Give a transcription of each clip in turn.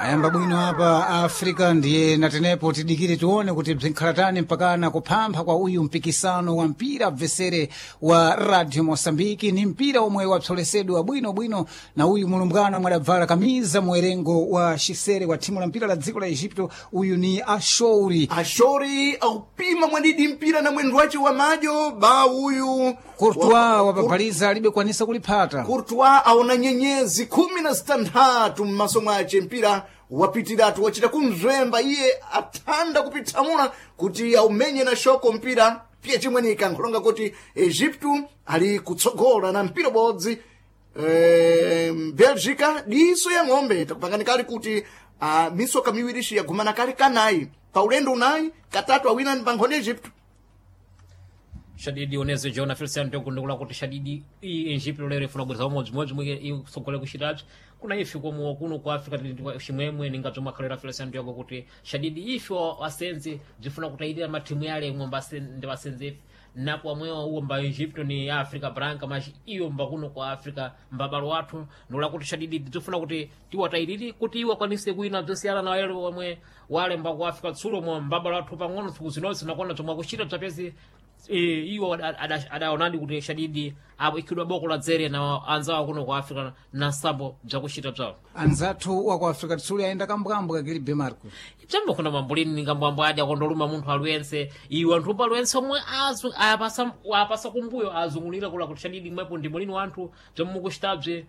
Ayamba bwino apa Africa, ndiye natenepo tidikire tione kuti bzinkhalatani mpakana kuphampha kwa uyu mpikisano wa mpira bvesere wa Radio Mosambiki. Ni mpira omwe wapsolesedwa bwinobwino na uyu mulumbwana omwe adabvala kamiza muwerengo wa xisere wa thimu la mpira la dziko la Egipto. Uyu ni Ashouri. Ashori aupima mwadidi mpira na mwendo wace wa madyo ba uyu Courtois wapapaliza alibe kwanisa kuliphata. Courtois aona nyenyezi 16 mmaso mwace, mpira wapitiratu wachita kumzwemba iye athanda kupithamula kuti aumenye na shoko mpira piye chimwenika nkhulonga kuti Egipto ali kutsogola na mpira ubodzi, Belgica diso ya ng'ombe. Takupangani kali kuti misoka miwirishi yagumana kale kanayi pa ulendo unayi katatu awina ni pankhoni Egipto. Shadidi oneze jona Feliciano tekundikula kuti shadidi i Egipto lero ifuna kubweza umodzimodzi mwike isogole kuchitapsi kuna ife komo kuno ku Africa tili chimwemwe ninga bzomwe akhalera Feliciano Diogo kuti shadidi ife asenzi bzifuna kutayirira mathimu yale imwe ndi asenzi ife napo amwewo uwo mba Egipto ni Africa Branca machi iyo mba kuno ku Africa mbabalo wathu ndikula kuti shadidi bzifuna kuti tiwatayirire kuti iwo akwanise kuina bzosiyana na wale omwe wale mba ku Africa tsulo mwe mbabalo wathu pang'ono tsiku zinonse nakona zomwe akuchita bzapezi iwo adaonadi kuti shadidi apo ikhidwa boko la dzere na anzawo kuno ku Africa na nsambo bzakuchita bzawo. Anzathu wa ku Africa tsuli ayenda kambwambwe kakilibe Marco. Bzambakuna mambulini ningambwambwe adi akondoluma munthu aliyense iwo anthu pa aliyense omwe apasa kumbuyo azungulira kula kuti shadidi mwepo ndi mulini wanthu bzomwe mukuchitabze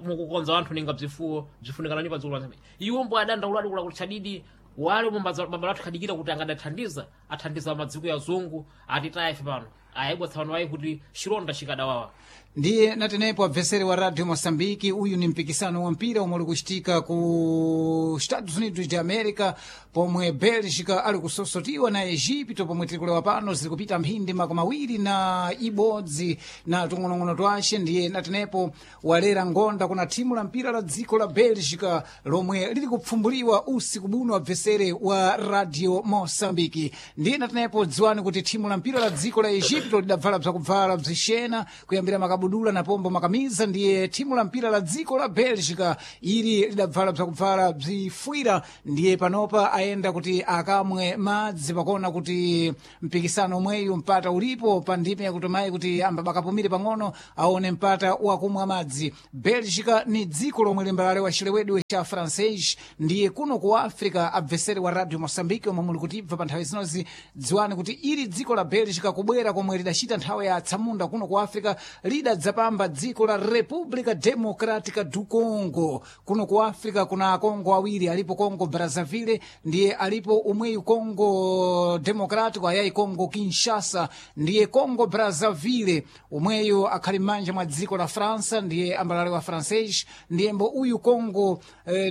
mukukonza wanthu ninga bzifuwo bzifunikanani pa dziko lanse iwo mbo adandauladi kula kuti shadidi wale mabala athu khadikira kuti angadathandiza athandiza madziko ya zungu atitaya ife pano ayibwa tsapano ayi kuti chilonda chikadawawa. Ndiye natenepo abvesere wa Radio Mosambiki, uyu ni mpikisano wa mpira omwe uli kuchitika ku Estados Unidos de America pomwe Belgica ali kusosotiwa na Egipto. Pomwe tiri kulewa pano ziri kupita mphindi 21 na tung'onong'ono twace. Ndiye natenepo walera ngonda kuna thimu la mpira la dziko la Belgica lomwe liri kupfumbuliwa usiku buno, abvesere wa Radio Mosambiki. Ndiye natenepo dziwani kuti thimu la mpira la dziko la Egipto lidabvala bzakubvala bzixena kuyambira makabudula na pombo makamiza, ndiye thimu la mpira la dziko la Belgica ili lidabvala bzakubvala bzifwira. Ndiye panopa ayenda kuti akamwe madzi pakona kuti mpikisano omweyu mpata ulipo pa ndime yakutomayi kuti ambabakapumire pang'ono aone mpata wakumwa madzi. Belgica ni dziko lomwe limbalale chilewedwe cha Francais. Ndiye kuno ku Africa, abvesere wa Radio Mosambiki omwe muli kutibva pa nthawi zinozi, dziwani kuti ili dziko la Belgica kubwera komwe lidachita nthawi ya atsamunda kuno ku Africa lidadzapamba dziko la República Democrática do Congo. Kuno ku Africa kuna akongo awiri alipo, Congo Brazzaville ndiye alipo umweyu Congo Democrático ayayi Congo Kinshasa. Ndiye Congo Brazzaville umweyu akhali m'manja mwa dziko la França, ndiye ambalale wa Francais. Ndiye mbo uyu Congo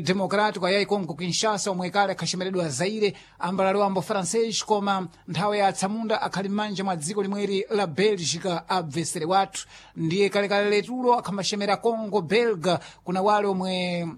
Democrático ayayi Congo Kinshasa omwe kale akhachemeredwa Zaire ambalale wambo Francais, koma nthawi ya atsamunda akhali m'manja mwa dziko limweri la Belgica abvesere wathu. Ndiye kalekale letulo akhambaxemera Congo Belga kuna wale omwe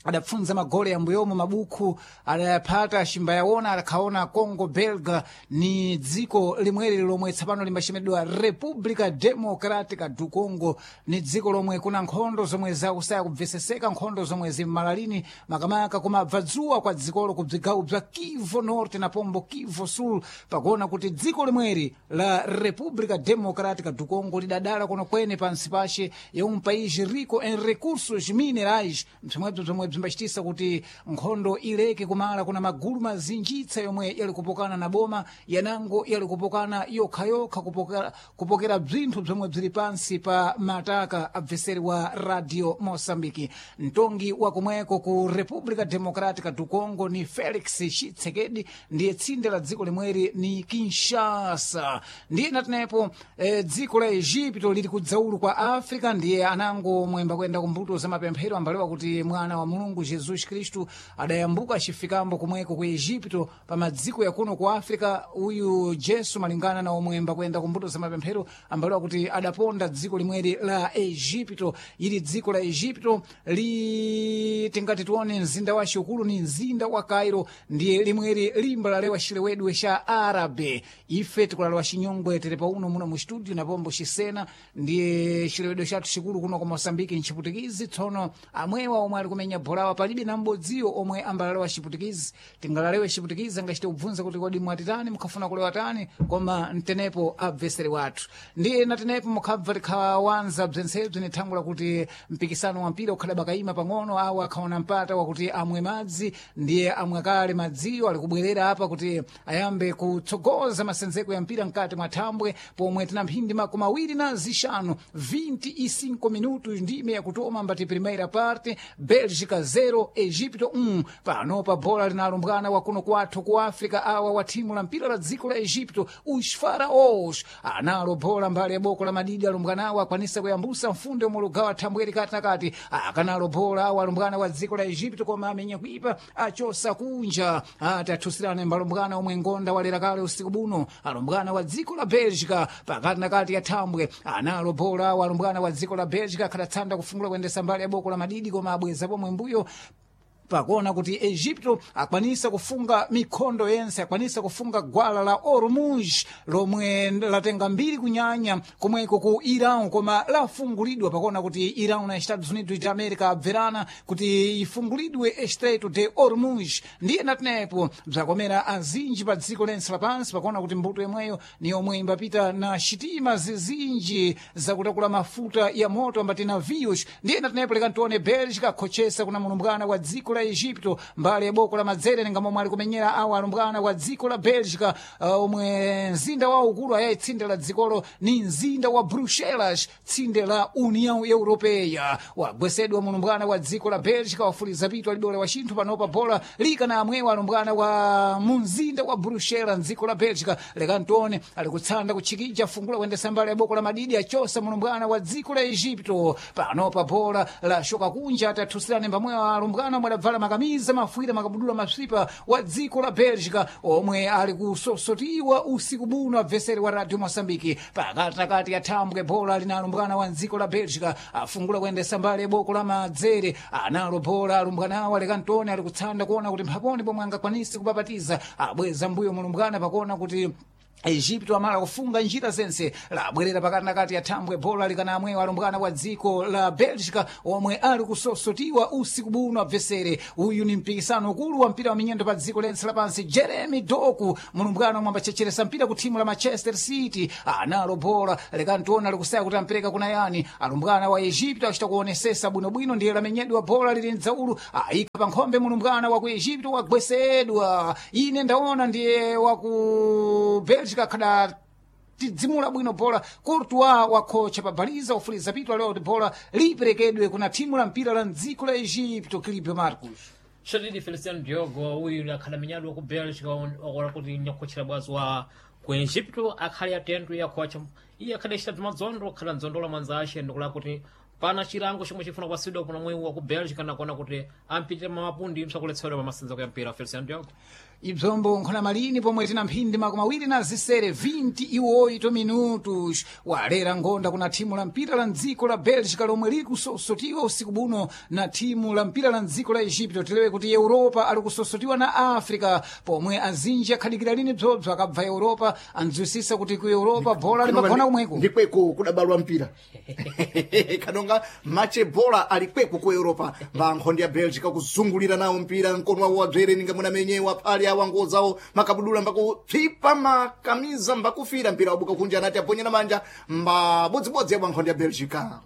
adapfunza magole ambuyomo mabukhu adayaphata ximbayaona adakhaona Congo Belga ni dziko limweri lomwe tsapano limbaxemedwa República Democrática do Congo. Ni dziko lomwe kuna nkhondo zomwe zakusaya kubveseseka, nkhondo zomwe zimmalalini makamaka kumabva dzuwa kwa dzikolo ku bzigawo bza Kivu Norte na pombo Kivu Sul, pakuona kuti dziko limweri la República Democrática do Congo lidadala kuno kwene pansi pace ya um país rico em recursos minerais, bzimwebzo zomwe bzimbachitisa kuti nkhondo ileke kumala. Kuna magulu mazinjitsa yomwe yali kupokana na boma yanango yali kupokana yokhayokha kupokera bzinthu bzomwe bzili pansi pa mataka. Abveseri wa Radio Mosambiki, mtongi wa kumweko ku República Democrática do Congo ni Felix Tshisekedi, ndiye tsinde la dziko limweri ni Kinshasa. Ndiye natenepo dziko la Egipto lili kudzaulu kwa Africa, ndiye anango mwemba kuyenda kumbuto za mapemphero ambalewa kuti mwana wa Mulungu Jesus Khristu adayambuka acifikambo kumweko ku Egipto pa madziko yakuno ku Africa. Uyu Jesu malingana na omwemba kuyenda kumbuto za mapemphero ambalewa kuti adaponda dziko limweri la Egipto. Ili dziko la Egipto. Misiri tingati tione mzinda wa ukulu ni mzinda wa Cairo, ndiye limweri limba lalewa xilewedwe xa Árabe. Ife tikulalewa xinyongwe tili pauno muno mu studio na pombo xisena, ndiye xilewedwe xathu xikulu kuno ku Moçambique nchiputikizi. Tsono amwewa omwe ali kumenya bholawa palibe na m'bodziwo omwe ambalalewa xiputikizi. Tingalalewe xiputikizi angachite kubvunza kuti kodi mwatitani, mukhafuna kulewa tani, koma mtenepo abvesere wathu. Ndiye natenepo mukhabva tikhawanza bzentsebze ni thangula kuti mpikisano wa mpira ukhala bakayima pang'ono, awo akhaona mpata wakuti amwe madzi, ndiye amwe kale madziwo ali kubwerera apa kuti ayambe kutsogoza masenzeko ya mpira mkati mwa thambwe, pomwe tina mphindi 25, 25 minutos ndime yakutoma mbati primeira parte, Bélgica 0 Egipto 1. Panopa bola linalumbwana wa kuno kwathu ku Africa awa wa thimu la mpira la dziko la Egipto, os Faraós, analo bola mbali ya boko la madidi. Alumbwanawo akwanisa kuyambusa mfundo omwe lugawa thambweri kati na kati, akanalo bola awa alumbwana wa dziko la Egipto, koma amenya kuipa achosa kunja. Ati athusirane mbalumbwana omwe ngonda walera kale usiku buno, alumbwana wa dziko la Bélgica pakati na kati ya thambwe, analo bola awa alumbwana wa dziko la Bélgica akhadatsanda kufungula kuyendesa mbali ya boko la madidi, koma abweza pomwe mbuyo pakuona kuti Egipto akwanisa kufunga mikhondo yense, akwanisa kufunga gwala la Ormuz lomwe latenga mbiri kunyanya komweko ku Iran, koma lafungulidwa pakuona kuti Iran na Estados Unidos de America abverana kuti ifungulidwe Estreito de Ormuz. Ndiye natenepo bzakomera azinji pa dziko lense lapansi pakuona kuti mbuto yomweyo ni yomwe imbapita na xitima zizinji zakutakula mafuta ya moto ambati navios. Ndiye natenepo leka ntione Bélgica akhochesa kuna mulumbwana wa dziko la Egipto mbali ya boko la madzere, ninga momwe ali kumenyera awa alumbwana wa dziko la Bélgica, omwe mzinda wawo ukulu ayayi tsinde la dzikolo ni mzinda wa Bruxelas, tsinde la União Europeia. Wagwesedwa mulumbwana wa dziko la Bélgica, wafuliza pitu alidole wa chinthu. Panopa bola lika na amwewa alumbwana wa mumzinda wa Bruxelas mdziko la Bélgica. Leka ntione ali kutsanda kutchikija fungula kuyendesa mbali ya boko la madidi, achosa mulumbwana wa dziko la Egipto. Panopa bola la shoka kunja, atathusirane mbamwewa alumbwana omwe adabvala makamiza mafuira makabudula maswipa wa dziko la Bélgica omwe ali kusosotiwa usiku buno abveseri wa Radio Moçambique. Pakatikati ya thambwe bola lina alumbwana wa dziko la Bélgica, afungula kuyendesa mbali ya boko la madzere, analo bola alumbwanawo. Alekantoni ali kutsanda kuona kuti mphaponi pomwe angakwanise kupapatiza, abweza mbuyo mulumbwana pakuona kuti Egipto amala kufunga njira zense, labwerera pakati na kati ya thambwe bola likana amwewo alumbwana wa dziko la Bélgica omwe ali kusosotiwa usiku buno abvesere. Uyu ni mpikisano ukulu wa mpira wa minyendo pa dziko lense lapansi. Jeremy Doku mulumbwana omwe ambachecheresa mpira ku thimu la Manchester City analo bola, lekantiona alikusaya kuti ampereka kuna yani. Alumbwana wa Egipto achita kuonesesa bwinobwino, ndiye lamenyedwa bola lili mdzaulu, ayika pa nkhombe mulumbwana wa ku Egipto wagwesedwa. Ine ndaona ndiye wa ku Bélgica kada tidzimula bwino bola, Courtois wakhocha pabaliza ufuliza pitu alewa kuti bola liperekedwe kuna thimu la mpira la mdziko la Egipto. Clipe Marcos Shadidi Feliciano Diogo uyu akhala menyadwa ku Bélgica wakola kuti nyakhochera bwazi wa ku Egipto akhale atento yakhocha iye akhale achita madzondo akhala ndzondola mwanza ace ndikula kuti pana chilango chomwe chifuna kupasidwa kuna mwewu wa ku Bélgica nakuona kuti ampitira mamapundi msakuletsedwa pa masenzeko ya mpira Feliciano Diogo. Ibzombo nkhona malini pomwe tina mphindi 28, 28 minutos, walera ngonda kuna thimu la mpira la mdziko la Bélgica lomwe likusosotiwa usiku buno na thimu la mpira la mdziko la Egipto. Tilewe kuti Europa ali kusosotiwa na Africa pomwe azinji akhalikira lini bzobzo akabva Europa andziwisisa kuti ku Europa bola limagona kumweko ndikweko kudabalwa mpira kanonga mache bola ali kweko ku Europa mba nkhondo ya Bélgica kuzungulira nawo mpira mkono wawo wabzere ninga munamenyewa phali awa ngozawo makabudula mbakupsipa makamiza mbakufira mpira wabuka kunja anati aponyera manja mbabodzibodzi yabwa nkhondo ya Bélgica.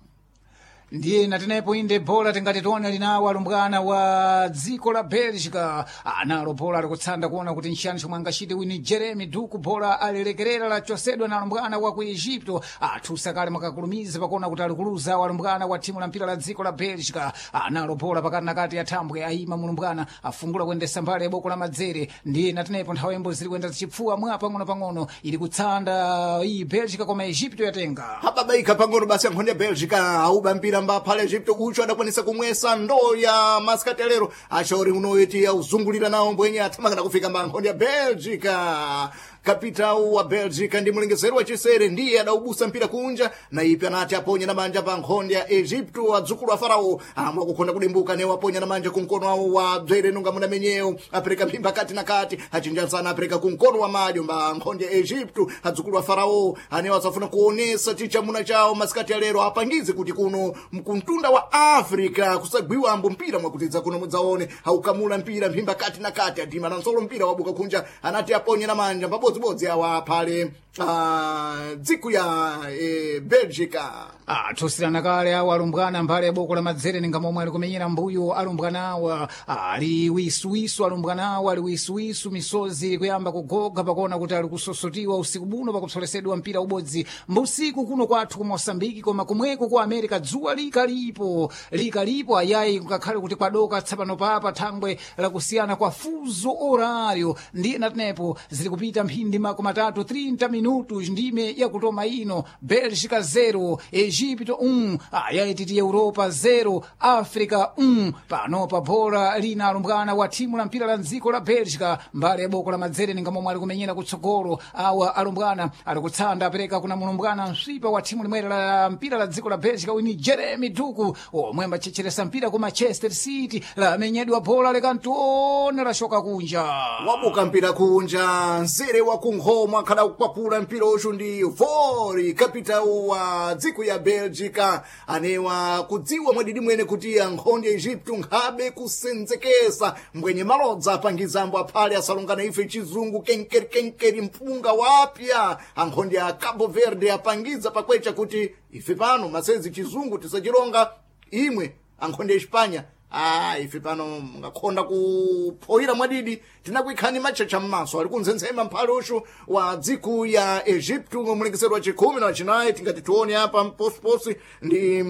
Ndiye natenepo inde bola tingati tione linawo alumbwana wa dziko la Bélgica analo bola alikutsanda kuona kuti nchiyani chomwe angachite wini. Jeremy Duku bola alilekerera lachosedwa na alumbwana wa ku Egipto, athusa kale makakulumiza pakuona kuti alikuluza alumbwana wa thimu la mpira la dziko la Bélgica. Analo bola pakati na kati ya thambwe ayima mulumbwana afungula kuyendesa mbali ya boko la madzere. Ndiye natenepo nthawi yombo zili kuyenda zichipfuwa mwa pang'ono-pang'ono ili kutsanda iyi Bélgica koma Egipto yatenga hababaika pang'ono basi ankhondo ya Bélgica auba mpira mbaphale Egipto ucho adakwanisa kumwesa ndoo ya masikatelero achaori unoiti auzungulira nawo mbwenye athamakana kufika mba nkhondo ya Bélgica. Kapitau wa Belgica ndi mlengeseri wa chisere ndiye adaubusa mpira kunja na ipi anati aponye na manja pa nkhonde ya Egypto, adzukulu a Farao amwe akukhonda kudimbuka newo aponya na manja kumkono wawo wa bzere nunga muna menyewo apereka mphimba kati na kati achinjansana apereka kumkono wa madyo mba nkhonde ya Egypto, adzukulu a Farao anewo asafuna kuonesa chichamuna chawo masikati alero apangize kuti kuno mkuntunda wa Africa kusagwiwa ambo mpira mwakutidza kuno mudzaone aukamula mpira mphimba kati na kati adima na nsolo mpira wabuka kunja anati aponye na manja pabodzibodzi awa aphale dziku ya Belgica. Thusirana kale awo alumbwana mbale ya boko la madzere ninga momwe ali kumenyera mbuyo alumbwana awa ali wisuwisu, alumbwana awa ali wisuwisu, misozi kuyamba kugoga pakuona kuti ali kusosotiwa usiku buno pakupsolesedwa mpira ubodzi mbusiku kuno kwathu ku Mosambiki, koma kumweko ku America dzuwa likalipo likalipo ayayi ngakhale kuti kwadoka tsapano papa thangwe lakusiyana kwa fuzo horario ndiye natenepo zili kupita mphindi makumi atatu 30 minutos ndime yakutoma ino Bélgica 0 Egipto 1 ayayi titi Europa 0 Africa 1 pano pa bola lina alumbwana wa thimu la mpira la mdziko la Bélgica mbali ya boko la madzere ninga momwe ali kumenyera kutsogolo awa alumbwana ali kutsanda apereka kuna mulumbwana mswipa wa thimu limwere la mpira la dziko la Bélgica wini Jeremy Duku omwe ambachecheresa mpira ku Manchester City lamenyedwa bola lekantiona lashoka kunja wabuka mpira kunja nzere wa kunkhoma akhala kukwapula mpira uchu ndi Vori kapitau wa dziko ya Belgica anewa kudziwa mwadidi mwene kuti ankhonde ya Egypto nkhabe kusenzekesa mbwenye malodza apangizambo aphale asalungana ife chizungu kenkeri kenkeri mpunga wapya ankhonde ya Cabo Verde apangiza pakwecha kuti ife pano masezi chizungu tisachilonga imwe ankhonde ya Espanya ife pano ngakhonda kuphoyira mwadidi tinakuikhani machacha mmaso ali kunzenzema mphale uchu wa dziku ya Egypto mlengesero wa chikhumi na wachinayi tingati tione apa mposiposi ndi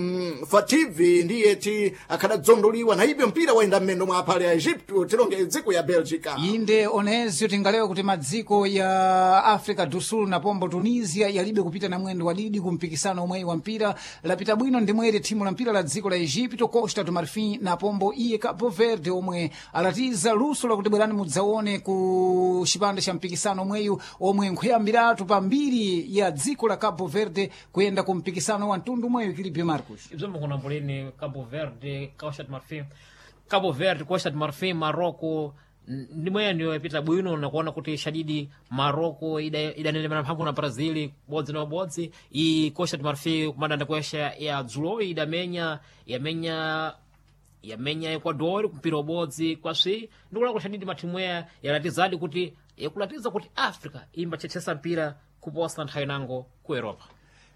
Fativi ndiye ti akhadadzondoliwa na ibyo mpira wayenda mmendo mwa aphale ya Egypto tilonge dziku ya Belgica inde onezio tingalewa kuti madziko ya Africa do Sul na pombo Tunisia yalibe kupita na mwendo wadidi ku mpikisano omweyi wa mpira lapita bwino ndimwere thimu la mpira la dziko la Egypto Costa do Marfim na pombo iye Cabo Verde omwe alatiza luso lakuti bwerani mudzaone ku chipande cha mpikisano omweyu omwe nkhuyambiratu pambiri ya dziko la Cabo Verde kuyenda ku mpikisano wa mtundu omweyu Kilibio Marcos ibzo mukunambuleni Cabo Verde, Costa do Marfim, Cabo Verde, Costa do Marfim, Marocco ndimweyo ndiyo yapita bwino nakuona kuti shadidi Marocco idanelemera mphamvu na Brazil bodzi na bodzi i Costa do Marfim kumadanda kuesha ya dzulo idamenya yamenya yamenya Ecuador mpira ubodzi kwaswi ndikulakula shadidi mathimu aya yalatizadi kuti yakulatiza kuti Africa imbachechesa mpira kuposa nthawi nango ku Europa.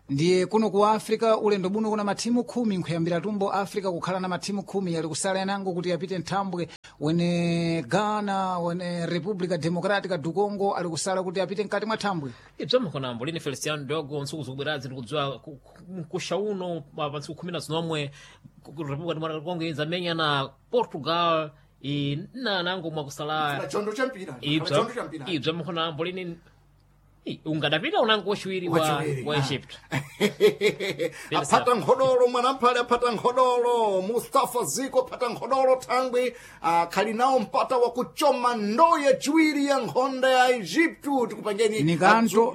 Ndiye kuno ku Africa ulendo buno kuna mathimu khumi nkhuyambira tumbo Africa kukhala na mathimu khumi yali kusala yanango kuti yapite nthambwe wene Ghana wene Republica Democratica do Congo ali kusala kuti apite mkati mwa thambwe ibzo mkonambo lini Feliciano Diogo ntsiku zikubwerazi ndikudziwa mkusha uno pa ntsiku khumi na zinomwe Republica Democratica Congo idzamenya na Portugal na nango mwakusala chondo cha mpira chondo cha mpira ibzo mkonambo lini ungadapita unango wachiwiri wa Egypt aphata nkhodolo mwanamphale aphata nkhodolo Mustafa Ziko aphata nkhodolo thangwi akhali nawo mpata wa kuchoma ndoyo yaciwiri ya nkhonda ya Egypto tikupangeni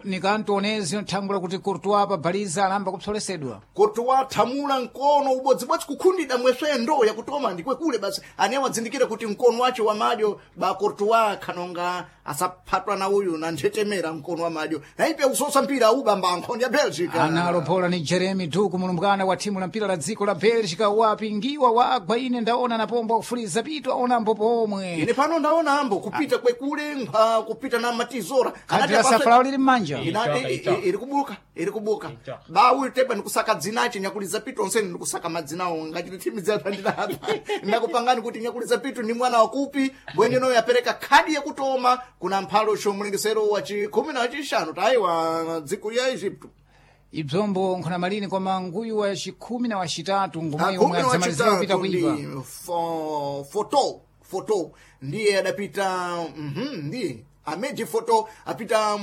nikanto onezio nthangwe lakuti Courtois pa baliza alamba kupsolesedwa Courtois thamula mkono ubodzibodzi kukhundida mweswe ndo yakutoma ndikwekule basi ane wadzindikira kuti mkono wace wa madyo ba Courtois khanonga asaphatwa na uyu na nthetemera mkono wa madyo naipe kusosa mpira ubamba nkhonda ya Belgica analo bola ni Jeremy Duku mulumbwana wa thimu la mpira la dziko la Belgica wapingiwa wagwa ine ndaona na pombo akufuliza pitu aona ambo pomwe ine pano ndaona ambo kupita kwekule kupita na matizora khadi la safalawo lili mmanja iri kubuka iri kubuka bawu tepa ndikusaka dzinache nyakuliza pitu onseni ndikusaka madzinawo ngachiti thimu dzapandinapa ndakupangani kuti nyakuliza pitu ni mwana wakupi bwenenoyo yapereka khadi yakutoma kuna mphalo chomlengesero wa chikhumi na wachishanu tayiwa dziko ya Egypto ibzombo nkhona malini koma nguyu wa chikhumi na wachitatu ngumwe omwe adzamalizira kupita kuipa foto foto ndiye adapita ndiye Ameji Foto apita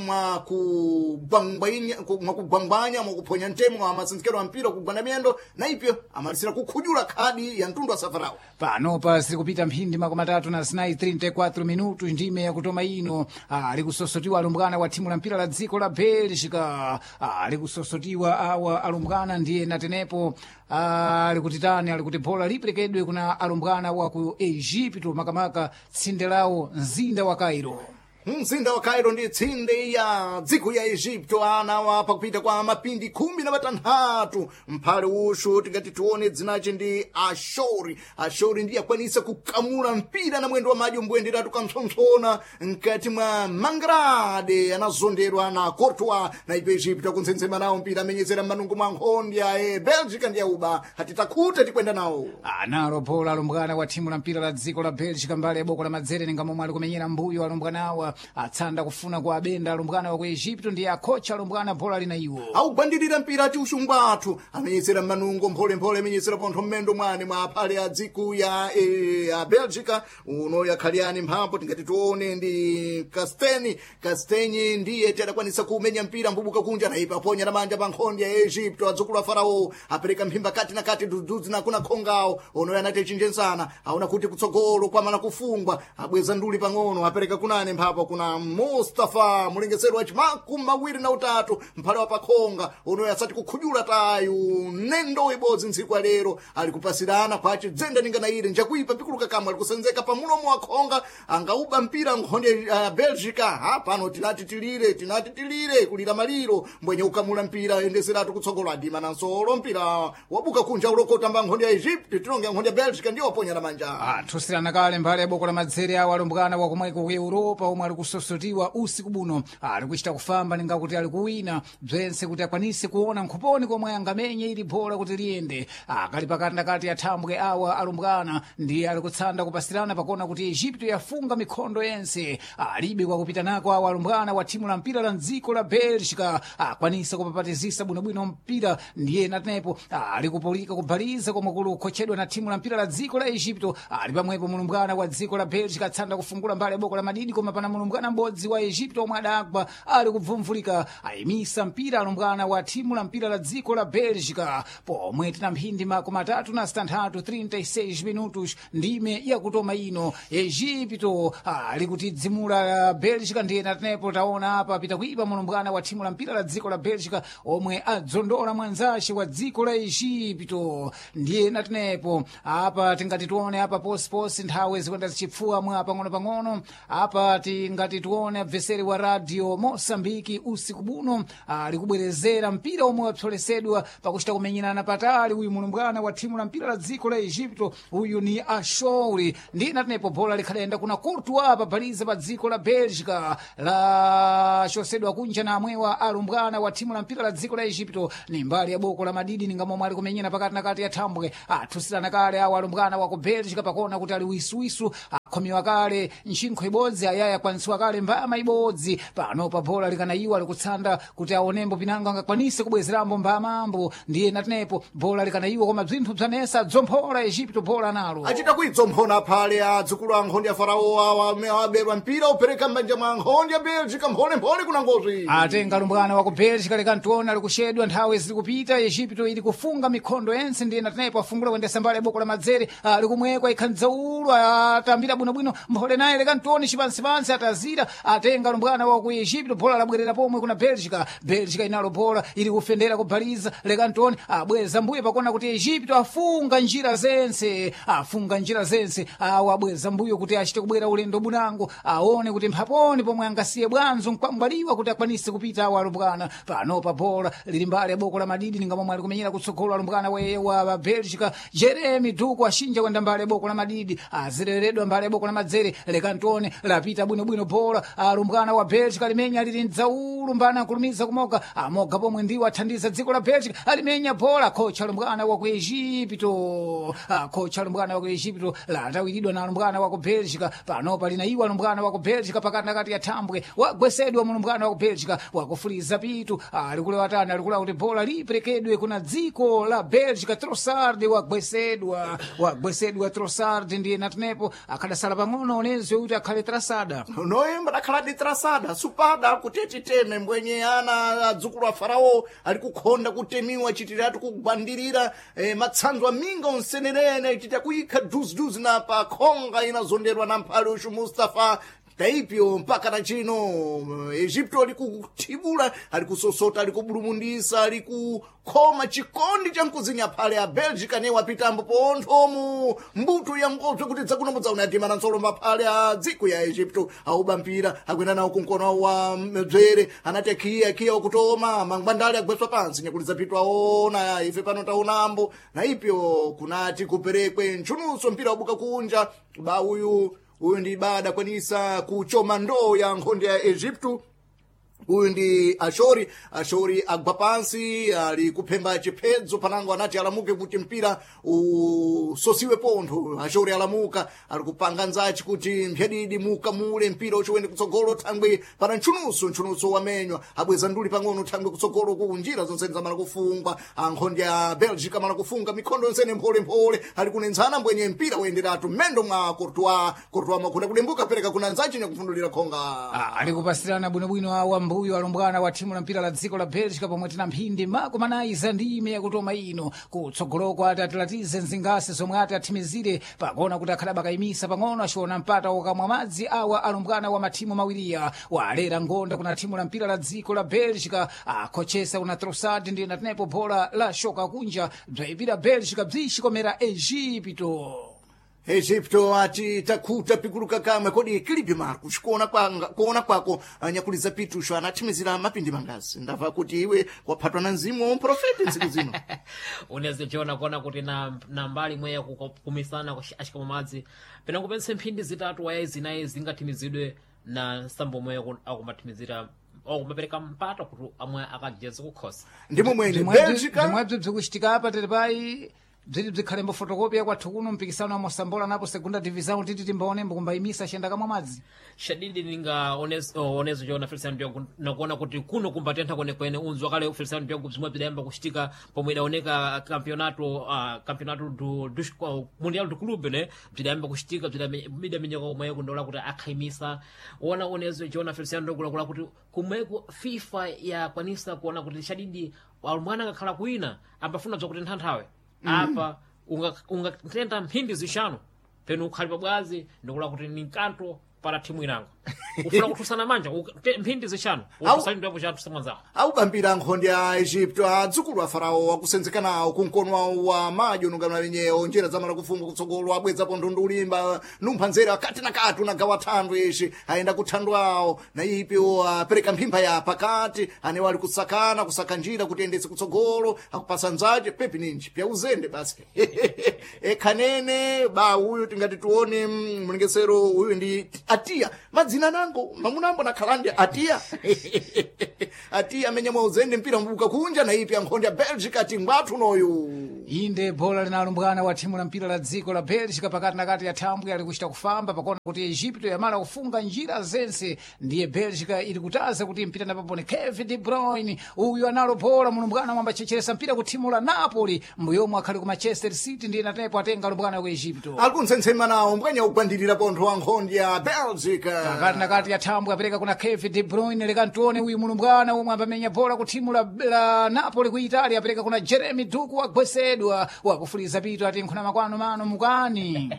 mwakugwangwanya mwakuphonya ntemo amasensekero a mpira kugwanda miyendo na ipyo amalisira kukhujula khadi ya mtundu wa safarao. Panopa ziri mphindi 34 34 minutos ndime yakutoma ino. Ali kusosotiwa alumbwana wa thimu la mpira la dziko la Bélgica. Ali kusosotiwa awa alumbwana ndiye natenepo ali kutitani ali kuti bola liperekedwe kuna alumbwana wa ku Egipto, makamaka tsinde lawo mzinda wa Cairo. Mzinda wa Cairo ndi tsinde ya dziko ya Egipto. Ana wa pakupita kwa mapindi 16 mphale ushu tingati tione dzinace ndi Ashori. Ashori ndiye akwanisa kukamula mpira na mwendo wa madzi umbuyenderatu kampsompsona mkati mwa mangrade anazonderwa na Courtois na ipo Egipto akuntsensema nawo mpira amenyezera m'manungo mwa nkhondya e Belgica ndi yauba hatitakuta tikwenda nawo. Analo bola alumbwana wa thimu la mpira la dziko la Belgica mbali ya boko la madzere ninga momwe ali kumenyera mbuyo alumbwana awa atsanda kufuna kwa abenda alumbwana wa ku Egipto ndiye akhocha alumbwana bola lina iwo. Augwandirira mpira ati uxungu athu amenyesera m'manungo mpholemphole amenyesera pontho mmendo mwane mwa aphale a dziku ya, ya Belgica uno yakhaliyani mphambo tingati tione ndi Casteni. Casteni ndiye ti adakwanisa kumenya mpira mbubuka kunja naipa aponya na manja pa nkhonde ya Egipto adzukulu a Farao apereka mphimba kati na kati dudzudzi na kuna khongawo ono yanati echinjensana aona kuti kutsogolo kwamana kufungwa abweza nduli pang'ono apereka kunane mphapo kuna Mustafa mulengesero wa chimakumi mawiri na utatu mphale wa pakhonga ono asati kukhujula tayu nendo ibodzi ntsiku ya lero ali kupasirana kwace dzenda ningana ire njakuipa pikuluka kamwe ali kusenzeka pa mulomo wa khonga angauba mpira nkhonde ya Belgica. Ha pano tinati tilire tinati tilire kulira maliro mbwenye ukamula mpira endeseratu kutsogolo adima na nsolo mpira wabuka kunja ulokota mba nkhonde ya Egypt tilonge nkhonde ya Belgica ndiyo waponya na manja. Athusirana kale mbali ya boko la madzere awo alumbwana wakomweko ku Europa omwe ali kusosotiwa usiku buno ali kuchita kufamba ninga kuti ali kuwina bzense kuti akwanise kuona nkhuponi komwe angamenye ili bola kuti liyende. Akali pakati nakati athambwe awa alumbwana ndiye ali kutsanda kupasirana pakona kuti Egipto yafunga mikhondo yense alibe kwakupita nako awa alumbwana wa thimu la mpira la mdziko la Belgica akwanisa kupapatizisa bwinobwino mpira ndiye natenepo ali kupulika kubhaliza komwe kuli kukhotchedwa na thimu la mpira la dziko la Egipto. Ali pamwepo mulumbwana wa dziko la Belgica atsanda kufungula mbali ya boko la madidi koma pana mulumbwana m'bodzi wa Egipto omwe adagwa ali kubvumvulika ayimisa mpira alumbwana wa thimu la mpira la dziko la Belgica pomwe tina mphindi 36 36 minutos ndime yakutoma ino. Egipto ali kutidzimula Belgica ndiye natenepo taona apa pita kuipa mulumbwana wa thimu la mpira la dziko la Belgica omwe adzondola mwanzace wa dziko la Egipto ndiye natenepo apa tingati tione apa posiposi nthawi zikwenda zichipfuwa mwa pang'ono-pang'ono apa tingati tione abveseri wa radio Mosambiki usiku buno ali kubwerezera mpira omwe wapsolesedwa pakuchita kumenyerana patali uyu mulumbwana wa thimu la mpira la dziko la Egipto uyu ni Ashouri ndiye natenepo bola likhalayenda kuna Courtois pabhaliza pa dziko la Belgica lachosedwa kunja na amwewa alumbwana wa thimu la mpira la dziko la Egipto ni mbali ya boko la madidi ninga momwe ali kumenyera pakati na kati ya thambwe athusirana kale awo alumbwana wa ku Belgica pakona kuti ali wisuwisu akhomiwa kale ntchinkho ibodzi ayaya kwanisiwa kale mbama ibodzi pano pa bola likanayiwa alikutsanda kuti aonembo pinango angakwanise kubwezerambo mbamambo ndiye natenepo bola likanayiwa koma bzinthu bzanesa dzomphola Egipto bola nalo Achita kuidzomphona aphale adzukulu a nkhonde ya Farao awa amene aberwa mpira upereka m'manja mwa nkhonde ya Belgica mpholemphole kuna ngozi. Atenga lumbwana wa ku Belgica likantiona likuxedwa nthawi ziri kupita Egipto ili kufunga mikhondo yense ndiye natenepo afungula kuyendesa mbali ya boko la madzere likumwekwa ikhandzaulu atambira bwinobwino mphole naye likantione cipansipansi atazira atenga lumbwana wa ku Egipto bola labwerera pomwe kuna Belgica. Belgica inalo bola ili kufendera kubhaliza likantione abweza mbuyo pakona kuti Egipto afunga njira zense afunga njira zense awo abweza mbuyo kuti achite kubwera ulendo bunango aone kuti mphaponi pomwe angasiye bwanzo nkwambaliwa kuti akwanise kupita awo alumbwana pano pa bola lili mbali ya boko la madidi ninga momwe ali kumenyera kutsogolo alumbwana wa Belgica Jeremy Duku ashinja kwenda mbali ya boko la madidi azileredwa mbali ya boko la madzere lekantone lapita bwinobwino bola alumbwana wa Belgica limenya lili mdzaulu mbana akulumiza kumoga amoga pomwe ndiwo athandiza dziko la Belgica alimenya bola kocha alumbwana wa ku Egipto kocha alumbwana wa ku Egipto latawiridwa na alumbwana wa ku Belgica panopa linayiwa alumbwana wa ku Belgica pakati nakati ya thambwe wagwesedwa mulumbwana wa ku Belgica wakufuliza pitu alikulewa tani alikula kuti bola liperekedwe kuna dziko la Belgica Trossard wagwesedwa wagwesedwa Trossard ndiye natenepo akhada Yasala pang'ono onezi kuti akhale trasada. Noyemba dakhala di trasada supada kuti titeme mbwenye ana adzukulu a farao ali kukhonda kutemiwa chitiratu kugwandirira matsanzo aminga onsenerene chita kuyikha duziduzi na pa khonga inazonderwa na mphale uxu Mustafa taipyo mpaka na chino Egipto ali kuthibula, ali kusosota, ali kubulumundisa, ali kukhoma chikondi cha mkuzinya phale a Belgica ne wapitambo ponthomu mbuto ya ngobzo kuti dzakunombodza unatima na nsolo maphale a dziko ya Egipto auba mpira akwenda nawo kunkono wa mdzere anati akhiya akhiya wakutoma mangwandale agweswa pansi nyakuliza pitu aona ife pano taonambo na ipyo kunati kuperekwe ntchunuso mpira wabuka kunja ba uyu uyu ndi bada kwanisa kuchoma ndoo ya nkhonde ya Egipto. Uyu ndi Ashori. Ashori agwa pansi ali kuphemba chiphedzo panango anati alamuke kuti mpira usosiwe pontho. Ashori alamuka ali kupanga nzachi kuti mphyadidi mukamule mpira uchiwende kutsogolo thangwe pana ntchunuso ntchunuso wamenywa abweza nduli pang'ono thangwe kutsogolo ku njira zonsene zamala kufungwa ankhonde ya Belgica amala kufunga mikhondo yonsene mpholemphole ali kunenzana mbwenye mpira woyenderatu mmendo mwa Courtois. Courtois makhunda kudembuka pereka kuna nzachi nyakufundulira khonga. Ali kupasirana bwinobwino awa mbuyo alumbwana wa thimu la mpira la dziko la Belgica pomwe tina mphindi makumanayi za ndime yakutoma ino kutsogoloko ati atilatize mzingasi zomwe ati athimizire pakuona kuti akhala bakayimisa pang'ono achiona mpata wokamwa madzi awa alumbwana wa mathimu mawiriya walera ngonda kuna thimu la mpira la dziko la Belgica akhochesa kuna Trossard ndi natenepo bola la shoka kunja bzayipira Belgica bzixikomera Egipto. Egipto ati takhuta pikuluka kamwe kodi kilipi Marcos kuona kwanga kuona kwako anyakuliza pitusho anathimizira mapindi mangazi ndamva kuti iwe waphatwa na mzimu wa mprofeti ntsiku zino. Unezichiona kuona kuti na mbali imwe yakukumisana axikamwa madzi pena kupense mphindi zitatu waya zinayi zingathimizidwe na nsambo omwe akumathimizira akumapereka mpata kuti amwe akajeze kukhosa. Ndimo mwene Belgica Zimwebzo bzikuchitika apa tili payi bziti bzikhale mbofotokopi kwathu kuno mpikisano wa mosambola napo segunda divisão titi timbaonembo kumbayimisa axenda kamwa madzi. Shadidi ninga onezo chona Feliciano Diogo nakuona kuti kuno kumbatentha kwenekwene unzi wakale Feliciano Diogo bzimwe bzidayamba kuchitika pomwe idaoneka campeonato do mundial do clube ne bzidayamba kuchitika bzidamenyeka kumweko ndola kuti akhayimisa ona onezo chona Feliciano Diogo lakula kuti kumweko FIFA yakwanisa kuona kuti shadidi alumwana akakhala kuina ambafuna bzakutentha nthawe apa ungatentha mphindi zixanu penu ukhali pabwazi ndikula kuti ni nkanto para thimu inango ufuna kuthusana manja mphindi zixanu utusali chathu samwanzawo. Aubambira nkhonde ya Egipto adzukulu a farao akusenzeka nawo kunkono wawo wa madyo nungano wenyewo njira zamala kufunga kutsogolo abwedzapo ndundu ulimba numpha nzere akati na kati unagawa thandwe ishi ayenda kuthandwe awo na ipyo apereka mphimba ya pakati anewo ali kusakana kusaka njira kuti ayendetse kutsogolo akupasa nzache pepi ninji pya uzende basi ekhanene ba uyu tingati tione mlengesero uyu ndi Atiya madzina nango mamunambo nakhala ndi Atiya. Atiya amene mwauzende mpira mbuka kunja na ipi ankhonde ya Belgica ati ngwathu noyu. Inde bola linalumbwana wa thimu la mpira la dziko la Belgica pakati na kati ya thambwe ali kuchita kufamba pakuona kuti Egipto yamala kufunga njira zense ndiye Belgica ili kutaza kuti mpira napapone Kevin De Bruyne uyu analo bola mulumbwana mwamba checheresa mpira ku thimu la Napoli mbuyomwe akhali ku Manchester City ndiye natepo atenga lumbwana ku Egipto. Ali kuntsensema nawo mbwenya kugwandirira pontho wa nkhonde ya Belgica. Pakati na kati ya thambwe apereka kuna Kevin De Bruyne lekantione uyu mulumbwana omwe ambamenya bola ku thimu la Napoli ku Italia apereka kuna Jeremy Doku agwesedwa wakufuliza pito ati nkhuna makwano mano mukani.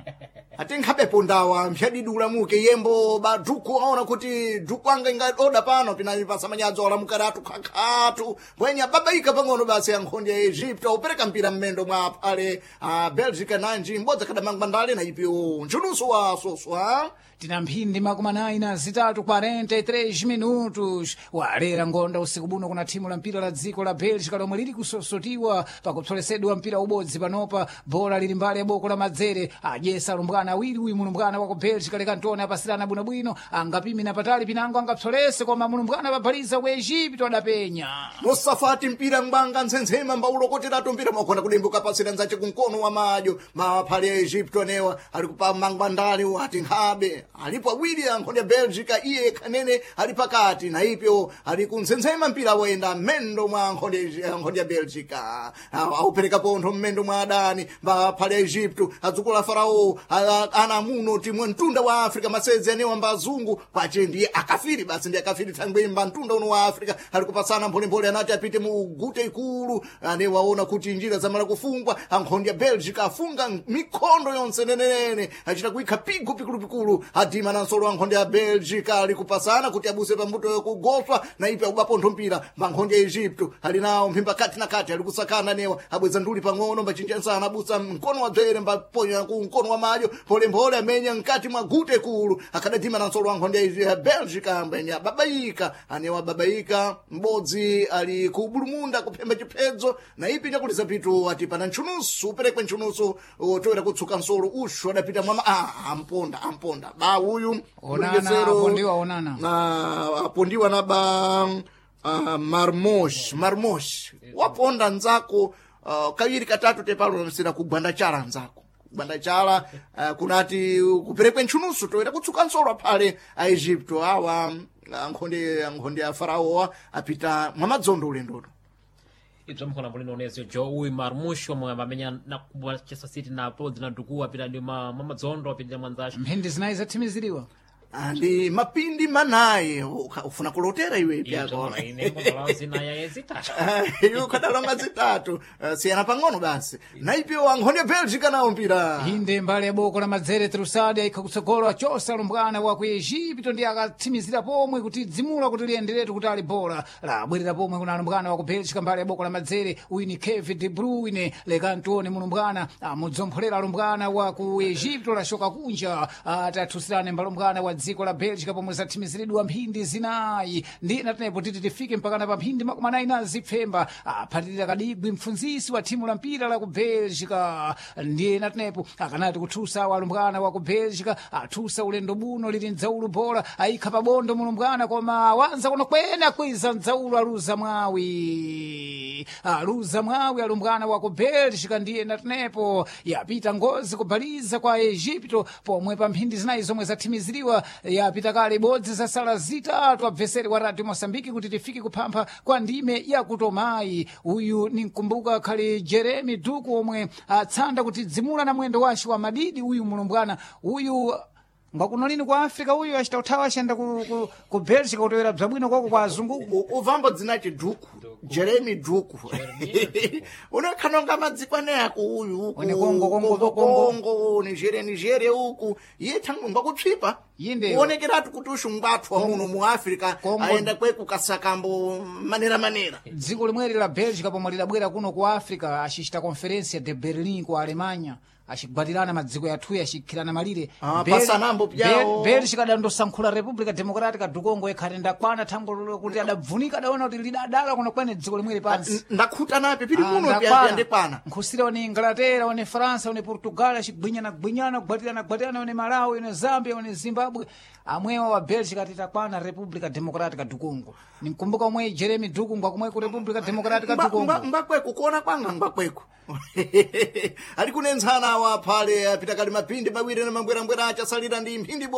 Ati nkhabepo ndawa mphyadidi ulamuke yembo ba duku aona kuti duku anga ingaoda pano pinalipasa manyadzo alamukiratu khakhatu mbwenya babaika pang'ono basi ya nkhonde ya Egipto aupereka mpira mmendo mwa phale a Belgica nanji mbodzi akhadamangwa ndale na ipyo ntchunuso wa soswa. Tina mphindi makumi anayi na zitatu 43 minutos walera ngonda usiku buno kuna thimu la mpira la dziko la Belgica lomwe lili kusosotiwa pakupsolesedwa mpira ubodzi panopa bola lili mbali ya boko la madzere adyesa alumbwana awiri uyu mulumbwana wa ku Belgica lekantone apasirana bwinobwino angapimina patali pinango angapsolese koma mulumbwana pabhaliza ku Egipto adapenya. Musafati mpira ngwanga ntsensema mbaulokoteratu mpira mwakhona kudimbuka pasira nzache kunkono wa madyo maphale ya Egipto anewa ali kupa mangwandale ati nkhabe alipo awiri ankhonde ya Belgica iye khanene ali pakati na ipyo ali kuntsensema mpira woyenda mmendo mwa nkhonde ya Belgica aupereka pontho mmendo mwa adani maphale ya Egipto adzukulu a farao Ana muno timwe mtunda wa Africa masezi anewa mbazungu kwache ndiye akafiri basi ndiye akafiri thangwe mba mtunda uno wa Africa ali kupasana mpholemphole anati apite mu gute ikulu ane waona kuti njira zamala kufungwa ankhondi ya Belgica afunga mikhondo yonse nenenene achita kuikha pigu pikulupikulu adima na nsolo ankhondi ya Belgica ali kupasana kuti abuse pambuto yokugoswa na ipi akubapontho mpira mankhondi ya Egypto ali nawo mphimba kati na kati ali kusakana newa abweza nduli pang'ono mbachinja nsana abusa mkono wa dzere mbaponya ku mkono wa madyo mpholemphole amenya mkati mwa gute kulu akadadima na nsolo ankhondi ya Belgica ambenya babaika anewa babaika m'bodzi ali ku bulumunda kuphemba chiphedzo na ipi nyakuliza pitu ati pana ntchunusu uperekwe ntchunusu toera kutsuka nsolo ushu adapita mwama amponda amponda ba uyu Onana, mlengesero, apondiwa onana. na apondiwa na ba marmosh marmosh waponda nzako kawiri katatu tepalo msira kugwanda chala nzako kugwanda chala kunati kuperekwe ntchunusu toera kutsuka nsolo aphale a Egypto awa ankhonde ankhonde a faraowa apita mwamadzondo ulendoto Ibzo mkhona mulino onezo jo uyu Marmush omwe amamenya na kubwa Manchester City na podzi na Duku apita ndi mamadzondo apita mwanzacho. Mphindi zinayi zathimiziriwa. Ndi mapindi manayi ufuna kulotera iwe Ibzo pyako ine mbona zina ya zitatu. iwe ukadalonga zitatu. Siyana pang'ono basi naipiwa ankhonde ya Belgica nawo mpira Inde mbali ya boko la madzere Trusadi aikha kutsogolo achosa lumbwana wa ku Egipto ndi akatsimizira pomwe kuti dzimula kuti liyenderetu kuti ali bola labwerera pomwe kuna lumbwana wa ku Belgica mbali ya boko la madzere uyu ni Kevin De Bruyne lekantione mulumbwana amudzompholera lumbwana wa ku Egipto lashoka kunja atathusirane mbalumbwana wa dziko la Belgica pomwe zathimiziridwa mphindi zinayi ndi natenepo titi tifike mpakana pa mphindi 40 na zipfemba aphatirira kadigwi mpfunzisi wa thimu la mpira la ku Belgica ndiye natenepo akanati kuthusa walumbwana wa ku Belgica athusa ulendo buno lili mdzaulu bola ayikha pabondo mulumbwana koma wanza kuno kwena kwiza mdzaulu aluza mwawi aluza mwawi alumbwana wa ku Belgica ndiye natenepo yapita ngozi kubaliza kwa Egipto pomwe pa mphindi zinayi zomwe zathimiziriwa yapita kale ibodzi zasala zitatu abveseri wa Radio Mosambiki kuti tifike kuphampha kwa ndime yakutomayi uyu ninkumbuka khali Jeremy Duku omwe atsanda kuti dzimula na mwendo wace wa madidi uyu mulumbwana uyu ngwakuno lini kwa Africa uyu achita uthawa achiyenda ku Belgica kutowera bzabwino kwako kwa azungu Uvambo dzinachi Duku Jeremy Duku unekhanonga madziko ako uyu uku One Congo, Congo, Congo. Congo Nigeria Nigeria uku iye thangu ngwakutsvipa Yinde. kuonekeratu kuti ushu ngwathu wa muno mu Africa Congo. ayenda kweku kasakambo manera manera Dziko limweri la Belgica pomwe lidabwera kuno ku Africa acicita conferência de Berlin ku Alemanha acigwatirana madziko yathuyi acikhirana malire Pasanambo pyawo. Belgica adandosankhula República Democrática do Congo ikhati ndakwana thango lolo kuti adabvunika adaona kuti lidadala kuno kwene dziko limweri pansi Ndakhuta nape pili Ah, muno ndakwana. pyandikwana Nkhusira one Inglaterra one Faransa one Portugal acigwinyana gwinyana kugwatirana gwatirana one Malawi one Zambia one Zimbabwe amwewa wa Belgica titakwana República Democrática do Congo ninkumbuka omwe Jeremy Duku ngwakumwe ku República Democrática do Congo Ngwakweku kuona kwanga ngwakweku ali kunentsana awa phale apita kali mapindi mawiri na mambwerambwera achasalira ndi mphindi.